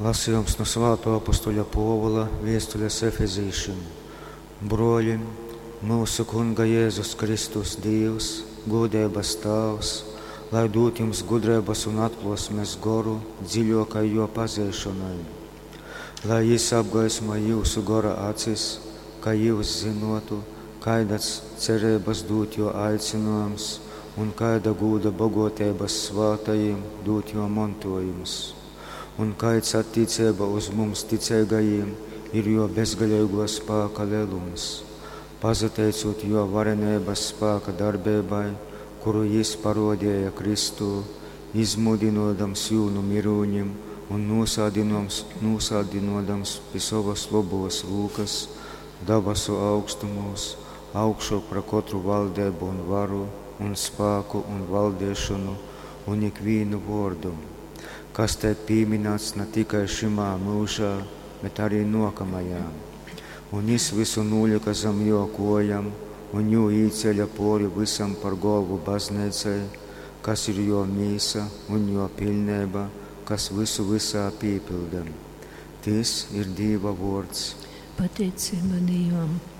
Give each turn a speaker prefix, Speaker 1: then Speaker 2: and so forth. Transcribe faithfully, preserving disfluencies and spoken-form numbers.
Speaker 1: Lasījums nu Svātō apostoļa Pōvula viestules Efezīšim. Brōļi, myusu Kunga Jēzus Kristus Dīvs, gūdeibas Tāvs, lai dūd jums gudreibas un atklōsmes goru dziļōkai jō pazeišonai. Lai jys apgaismoj jyusu gora acis, ka jyus zynōtu, kaidas cereibas dūd jō aicynōjums un kaida gūda bogōteibas svātajim dūd jō montōjums, un kaids attīceibā uz mums ticeigajim ir jō bezgaleigō spāka lelums, pasateicūt jō vareneibas spāka darbeibai, kuru jys parōdeja Kristū, izmūdynōdams jū nu myrūnim un nūsādynōdams pi sovas lobōs rūkas dabasu augstumūs, augšōk par kotru valdeibu un varu, un spāku un valdeišonu un ikvīnu vōrdu, kas teik pīmynāts na tikai šymā myužā, bet arī nōkamajā. Un jys vysu nūlyka zam jō kōjam un jū īcēle pōri vysam par golvu bazneicai, kas ir jō mīsa un jō piļneiba, kas vysu vysā pīpylda. Tys ir Dīva vōrds.
Speaker 2: Pateiceiba Dīvam.